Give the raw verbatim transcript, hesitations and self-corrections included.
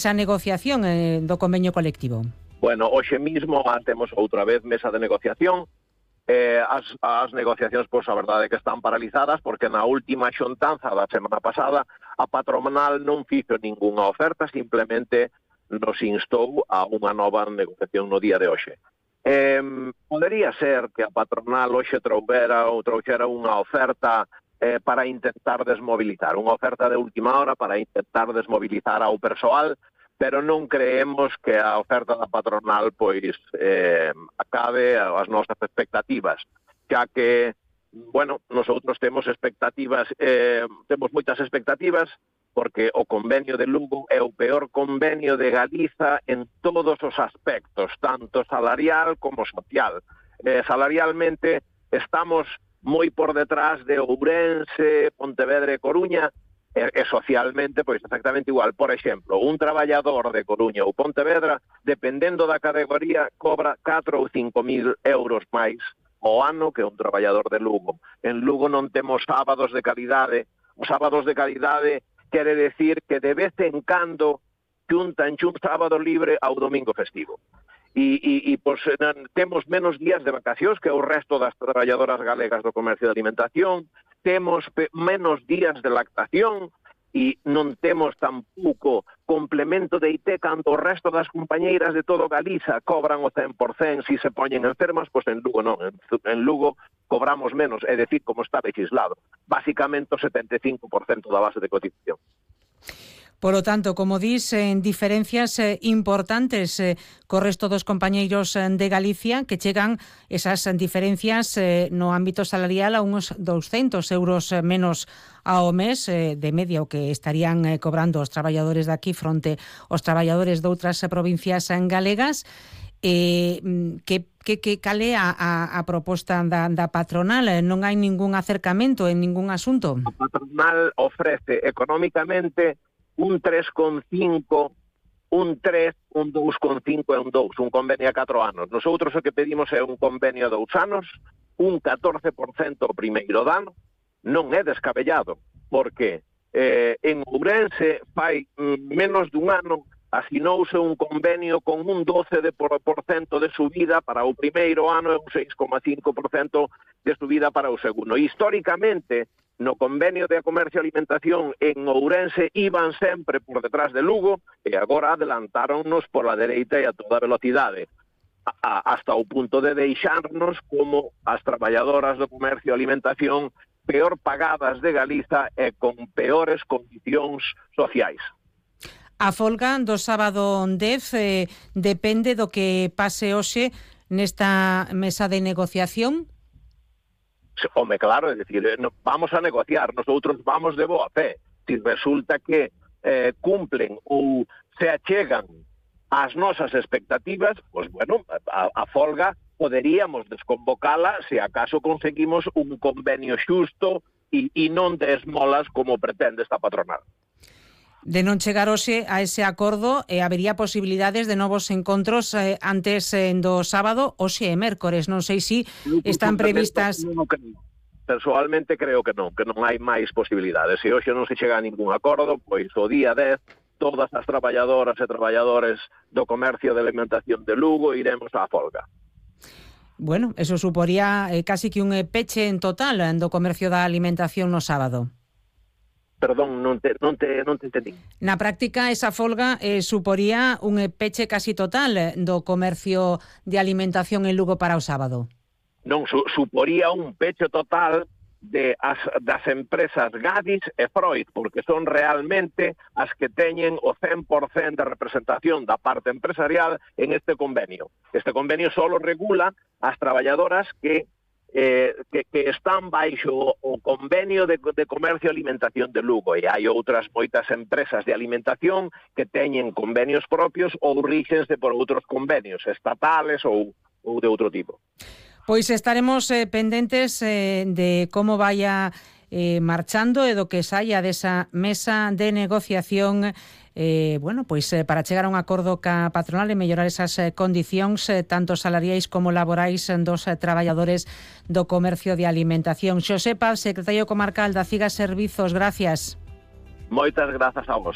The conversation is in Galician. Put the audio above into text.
esa negociación eh, do convenio colectivo? Bueno, hoxe mismo temos outra vez mesa de negociación. Eh, as, as negociacións, pois, a verdade é que están paralizadas porque na última xuntanza da semana pasada a patronal non fixo ningunha oferta, simplemente nos instou a unha nova negociación no día de hoxe. Eh, podería ser que a patronal hoxe troubera ou trouxera unha oferta eh, para intentar desmobilizar, unha oferta de última hora para intentar desmobilizar ao persoal, pero non creemos que a oferta da patronal pois eh, acabe as nosas expectativas, xa que, bueno, nosotros temos expectativas, eh, temos moitas expectativas, porque o convenio de Lugo é o peor convenio de Galiza en todos os aspectos, tanto salarial como social. Eh, salarialmente estamos moi por detrás de Ourense, Pontevedra e Coruña, e, e socialmente, pois exactamente igual. Por exemplo, un traballador de Coruña ou Pontevedra, dependendo da categoría, cobra catro ou cinco mil euros máis ao ano que un traballador de Lugo. En Lugo non temos sábados de calidade. Os sábados de calidade quere decir que de vez en cando xuntan un sábado libre ao domingo festivo. E, e, e pois, temos menos días de vacacións que o resto das traballadoras galegas do comercio de alimentación, temos menos días de lactación e non temos tampouco complemento de I T cando o resto das compañeiras de todo Galiza cobran o cen por cento se se poñen enfermas, pois en Lugo non. En, en Lugo cobramos menos, é dicir, como está legislado. Básicamente o setenta e cinco por cento da base de cotización. Por lo tanto, como dis, en diferencias eh, importantes eh, co resto dos compañeiros eh, de Galicia que chegan esas diferencias eh, no ámbito salarial a uns douscentos euros eh, menos ao mes eh, de media o que estarían eh, cobrando os traballadores de aquí fronte aos traballadores de outras eh, provincias eh, galegas. Eh, que, que, que cale a, a, a proposta da, da patronal? Non hai ningún acercamento en ningún asunto? A patronal ofrece económicamente un tres coma cinco, un tres, un dous coma cinco e un dous, un convenio a catro anos. Nosotros o que pedimos é un convenio a dous anos, un catorce por cento o primeiro dano, non é descabellado, porque eh, en Ourense fai mm, menos dun ano asinouse un convenio con un doce por cento de subida para o primeiro ano e un seis coma cinco por cento de subida para o segundo. Históricamente, no convenio de comercio e alimentación en Ourense iban sempre por detrás de Lugo e agora adelantáronnos pola dereita e a toda velocidade, a, a, hasta o punto de deixarnos como as traballadoras do comercio e alimentación peor pagadas de Galiza e con peores condicións sociais. A folga do sábado dez eh, depende do que pase hoxe nesta mesa de negociación? Home, claro, é dicir, vamos a negociar, nosotros vamos de boa fe. Si resulta que eh, cumplen ou se achegan ás nosas expectativas, pois, bueno, a, a folga poderíamos desconvocala se acaso conseguimos un convenio xusto e, e non de esmolas como pretende esta patronal. De non chegar hoxe a ese acordo, eh, habería posibilidades de novos encontros eh, antes eh, do sábado, hoxe e mércores. Non sei se si están previstas... Non, creo. Personalmente creo que non, que non hai máis posibilidades. Se hoxe non se chega a ningún acordo, pois o día dez, todas as traballadoras e traballadores do comercio de alimentación de Lugo iremos á folga. Bueno, eso suporía eh, casi que un peche en total do comercio da alimentación no sábado. Perdón, non te, non te, non te entendí. Na práctica, esa folga eh, suporía un peche casi total do comercio de alimentación en Lugo para o sábado. Non, su, suporía un peche total de as, das empresas Gadis e Freud, porque son realmente as que teñen o cen por cento de representación da parte empresarial en este convenio. Este convenio solo regula as traballadoras que Eh, que, que están baixo o convenio de, de comercio e alimentación de Lugo, e hai outras moitas empresas de alimentación que teñen convenios propios ou ríxense por outros convenios estatales ou, ou de outro tipo. Pois estaremos eh, pendentes eh, de como vaya eh, marchando e do que saia desa mesa de negociación eh, bueno, pois eh, para chegar a un acordo ca patronal e mellorar esas eh, condicións eh, tanto salariais como laborais dos eh, traballadores do comercio de alimentación. Xosé Paz, secretario comarcal da CIGA Servizos, gracias. Moitas grazas a vos.